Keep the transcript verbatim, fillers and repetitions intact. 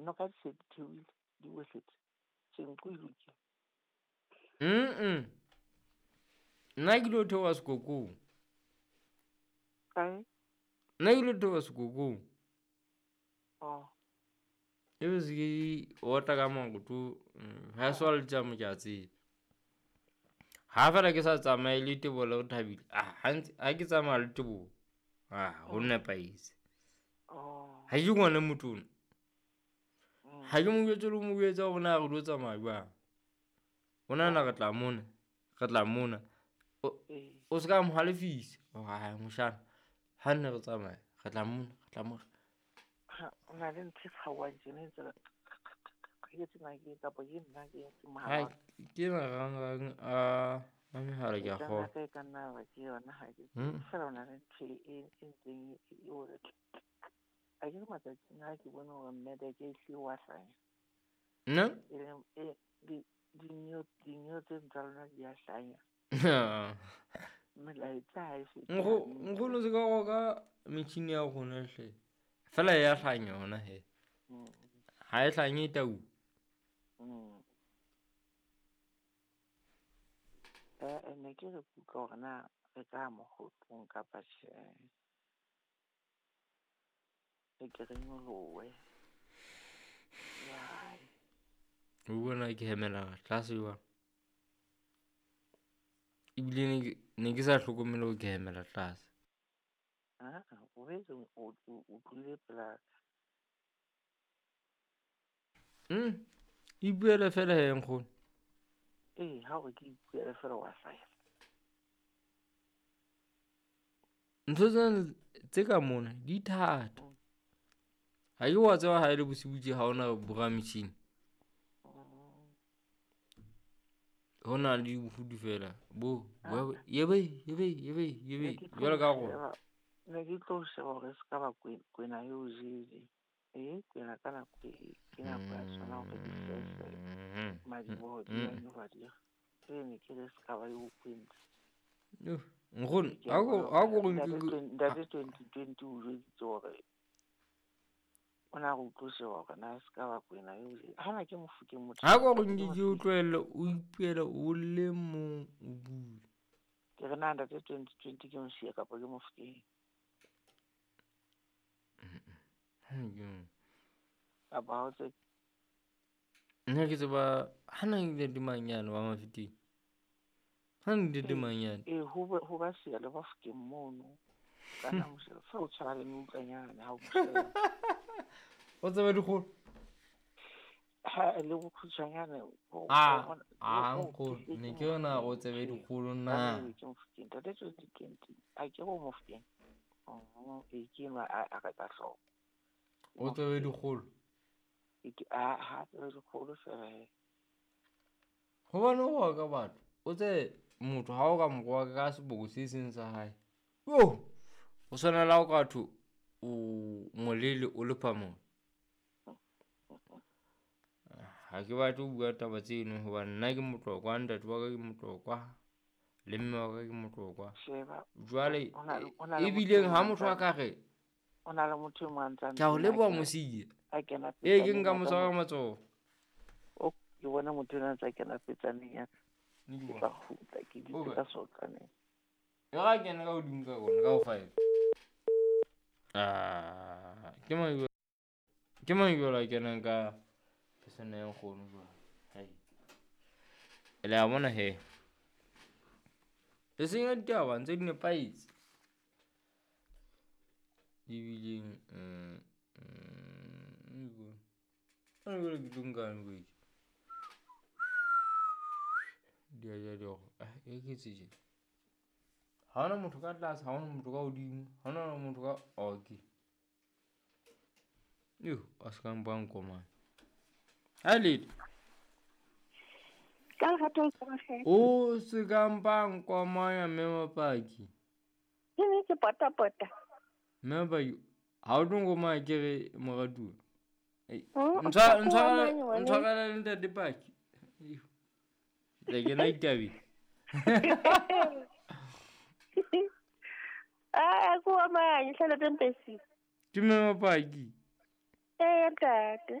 Noka di se di theohile di wehletse. Senqu e lokile. Mm. Nna ke lo theoha sekokong. Kae? Nna ke lo theoha sekokong. Oh. Ebe se ke otla ka maoto ha e le tjamo ke a tseba. Ha fela ke sa tsamaye le Teboho le Rethabile, ah ha ntse ha ke tsamaya le Teboho, ah ho nepahetse. Oh. Ha ke ngwana motona. Mm. Ha ke mo jwetse le ho mo jwetsa hore na re tlo tsamaya jwang. O nahana re tla mona, re tla mona. O Ee. o ska mo halefisa. Hore moshana, ha nne re tsamaya, re tla mona, re tla mona. Ha o na le ntho e kgaohang tjena e ntse re ke tsena ke kapa ke nna ke ke Ha mohala wa ke marangrang a a mehala ke e a ka nna kgolwa. ka e ka nna ba ke yona ha ke Mm. fela o na le ntho e e ntseng e e o re a ke re matsatsing a ke bone hore mmedeke e hlile wa hlanya. Nna? E leng e di dineo dineo tse tsa lona di a hlanya. Melaetsa ha e fete Nkgo hantle. nkgono se ka roka metjhini ya rona hle. Fela ya hlanya yona he. Mm. Ha e hlanye tau. Mm. Eh, ne ke re ke utlwa hore na re ka mokgotlong kapa tjhe. Re ke re nyolohe. Jwale. O bona ke hemela tlase jwang. Ebile ne ke ne ke sa hlokomele hore ke hemela tlase. Ah, o boetse o o o tlile pela Mm. Ipuele fela he nkgono. Ee, ha hore ke ipuele fela wa hlaya. Ntho tsena tse ka mona di thata. Mm. Ha ke wa tseba ha e le bosiu tje ha hona bora metjhini. Mm. Ho na le bofutu fela bo Ah. yebe yebe yebe Ne yebe ke tlo jwalo ka rona. sheba ne ke tlo sheba hore se ka ba kwena eo jele. Ee, kwena ka nako e ke nako ya tsona hore di sese Mm. madiboho di Mm. a nyoba di. Ee, ne ke re se ka ba eo kwentse. Yo, nkgono Ke a ha ko bona ha ko hore re ntate nke twen- ntate twenty twenty o jweditse hore o na re o tlo sheba hore na se ka ba kwena eo jele. Hana ke Mofokeng motho. Ha ko re Ke nke ke o Mofokeng. tlohelle o ipuele o le mong o bue. Ke re na ntate twenty twenty ke Mosia kapa ke Mofokeng. Mm. Kapa ha o tsebe. Nna ke tseba hana ke ntate Manyane wa Mafeteng. Ha ntate Ee, Manyane. ee ho ba ho ba siya le Bafokeng mono. Kana mosheba fa o tshwana le meutlwanyana ha o mo sheba. O tseba dikgolo? Ha le bokgutshwanyane o Ah, o ah o nkgono, ke ne ke ke yona o Mofokeng tsebe tjhe. dikgolo Ka na. nnete ke Mofokeng. Ntate twenty twenty a ke go Mofokeng. Oh, ee ke enwa a a ka hlooho. O tsebe dikgolo. E ke a ha tsebe dikgolo fela he. Hobane o roka batho, o tsebe motho ha o ka mo roka ka seboko se seng sa hae. Yo! O tshwana le ha o ka thwe o molele o le phamolo. Ha ke batle ho bua taba tseno hobane nna ke Motlokwa, ntate wa ka ke Motlokwa, le mme wa ka ke Motlokwa. Sheba Jwale o na le o na le motho ebileng e ha mong motho a a ka re o na le motho e mong a ntsa ke a o ntse leboha a kena Mosia. a kena Ee ke petsaneng nka ya mo ka tshwara mo ka matsoho. o ke bona motho enwa a ntsa kena petsaneng ya ka. Ne ke Ke bona. tla kgutla ke dutse Okay. ka sotlaneng. E re a kene ka hodimo ka kona ka ho five. Ah, ke mang jwale? Ke mang jwale a kenang ka pesana ya nkgono jwale? Hai. Le a bona he. Le senya ditaba ntse di nepahetse. Ebileng mm mm mm jwale ke tlo nkang jwale. Di a ja di ah e ke tse tje. Ha hona motho ka tlase, ha hona motho ka hodimo, ha hona motho ka okay. Yo, a se ka mpa nkomane. Ha lady. Ka lerato le tsamaye. O se ka mpa nkomanya mme Mapaki. Ke ne ke pota pota. Mme Mapaki, ha o tlo nkomanya ke re moratuwa. Ei, Mm, ntshwa o ntshwarele nkomanya ngwaneso. ntshwarele le ntate Paki. Yo. Ke tla kena ditabeng. Ah, ko amanye hlala tempesi. Ke mme Mapaki. Eh, ntate.